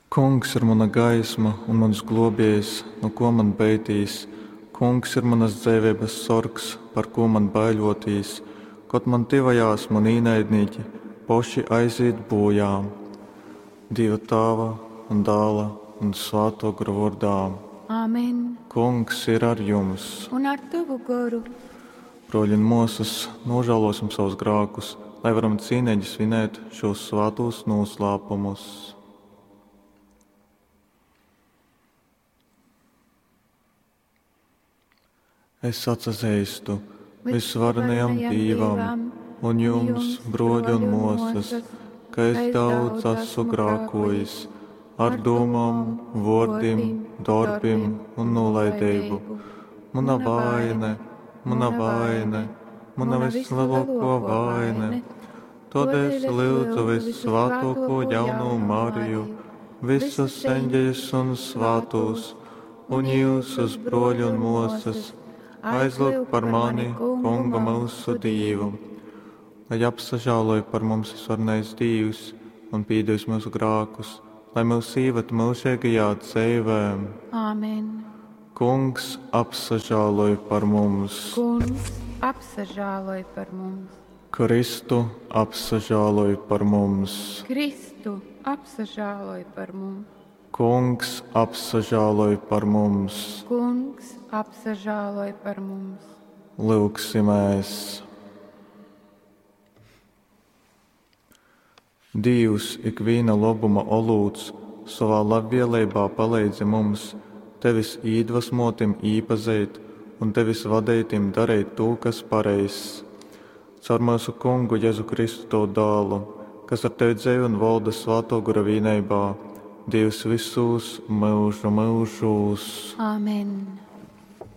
Kungs ir muna gaisma un muns gluobiejs, nu kuo man beitīs? Kungs ir munas dzeiveibas sorgs, par kū man baiļuotīs? Kod man tyvojās muni īnaidnīki, poši aizīt būjā. Dīva Tāva un Dāla un Svātuo Gora vuordā. Āmen. Kungs ir ar jums! Un ar tavu goru. Bruoļi un muosys, nožēlosim savus grākus, lai varam cīnīgi svinēt šos svātos noslēpumus. Es atsazeistu visvarenajam Dīvam un jums, bruoļi un muosys, ka es daudz esmu grākojis ar domām, vuordim, dorbim un nolaidību. Muna vaine, muna vaine, muna vislielāko vaine. Todēļ es lūdzu vissvātāko jaunu Mariju, visus eņģeļus un svātos, un jūsus bruoļi un muosas, aizlūgt par mani, Kungu mūsu Dīvu. Lai apsažāloj par mums visvarenais Dīvs un pīdevis mūsu grākus, lai mūs īved mūžīgajā dzīvē. Āmen. Kungs apsažāloj par mums. Kungs apsažāloj par mums. Kristu apsažāloj par mums. Kristu apsažāloj par mums. Kungs apsažāloj par mums. Kungs apsažāloj par mums. Lūgsimies! Dīvs, ikviena labuma olūts, savā labvēlībā palīdzi mums, tevis īdvesmotim īpazīt un tevis vadītim darīt to, kas pareizs. Caur mūsu kungu Jēzu Kristu tavu dēlu, kas ar tevi dzīvo un valda svāto gara vienībā, Dievs visus mūžu mūžos. Āmen.